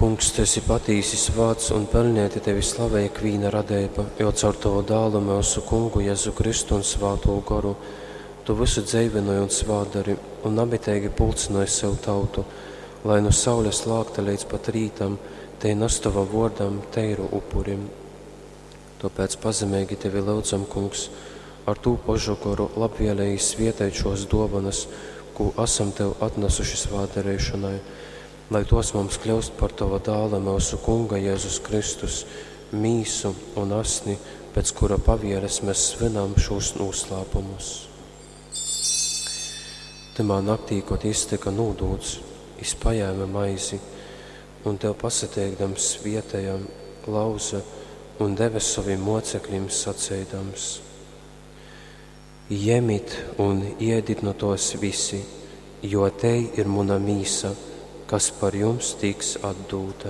Kungs, tu esi patīsi svāts un pelnēti tevi slavej ikvīna radeiba, jo caur tovu dālu myusu Kungu Jezu Kristu un Svātū Goru tu vysu dzeivynoj un svātdari un namiteigi pulcynoj sev tautu, lai nu saules lākta leidz pat rītam tei nas tovam vōrdam teiru upuri. Tōpēc pazemeigi tevi lyudzam, Kungs, ar tū pošu goru labvēlīgi svieteit šos dōvanas, kū asam tev atnasuši svātdareišonai, lai tos mums kļūst par tova dāla myusu Kunga Jēzus Kristus mīsu un asni, pēc kura pavieles mēs svinam šos noslēpumus. Tymā naktī, kod jis tyka nūdūts, jis pajēma maizi un tev pasateikdams svietēja, lauza un deve sovim mocekļim saceidams: Jemit un iedit nu tos visi, jo tei ir muna mīsa, kas par jums tiks atdūta.